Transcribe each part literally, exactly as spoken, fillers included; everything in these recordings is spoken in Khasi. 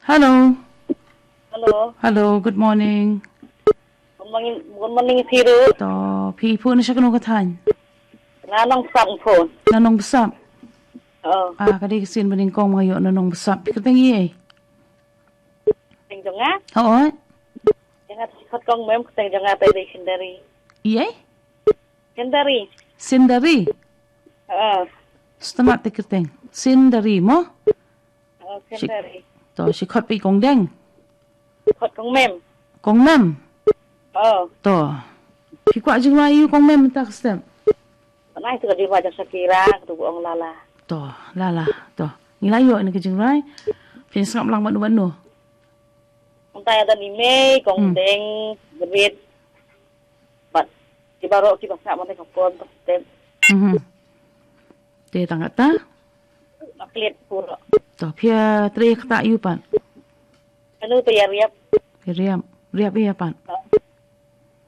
Hello. Hello. Hello, good morning. Good morning, good morning, Siru. To, phi phone na sha kano ka thaiñ? Na Nongbsap phone. Na Nongbsap. Oh. Ah, ka dei ka sien ba nyngkong ma nga ïoh na Nongbsap. Phi kyrteng ei? Kyrteng jong nga? Hooid. Jong nga te khot kong Mem, kyrteng jong nga te dei Sindari. Ei? Sindari. Sindari. Ah. Sngewtynnat te kyrteng. Sindari mo? Oh, Sindari. To, shi khot phi kong deng. Khot kong Mem. Kong Mem. Oh. To. Phi kwah jingrwai ïa u kong Mem mynta ka step? Nai tu ka jingrwai jong Shakira, tu ong Lala. To, Lala. To. Ngi la ïoh ïa ka jingrwai. Phin sngap lang bad u bad no? Mynta ïa da ni mei, kong deng, grit. Bad ki baroh ki ba sngap mynta ka pon tu step. Mhm. Te tang kata? Naklit pura. To, phi ïa trei kata ïa u pat? Anu te ïa riap. Riap. Riap ïa pat.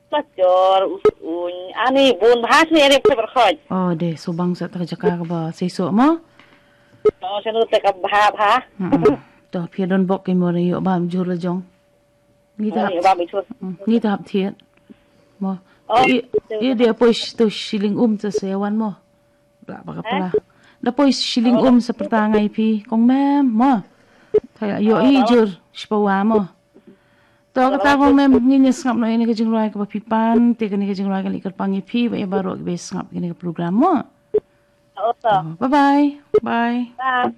Pachor, us uñ. Ani bun bahas ni riap se berkhoj. Oh, de, subang sa ta ka jaka ka ba seiso mo? Oh, sanu te ka bha bha. To, phi don bok ki mo ïoh bam jur la jong. Ngi ta hap. Ngi ta hap thiet. Mo. Oh, i, i dia poi to shilling um ta sewan mo. Bla baka pala. Da poi shilling um sa perta ngai phi kong Mem mo. Thaya ïoh i jur shipawa mo. To kata kong Mem ngin ïa sngap noh ïa kane ka jingrwai kaba phi pan te kane ka jingrwai ka leit kyrpang ïa phi bad ïa baroh kiba sngap ïa kane ka program mo. Oh, bye bye. Bye. Bye.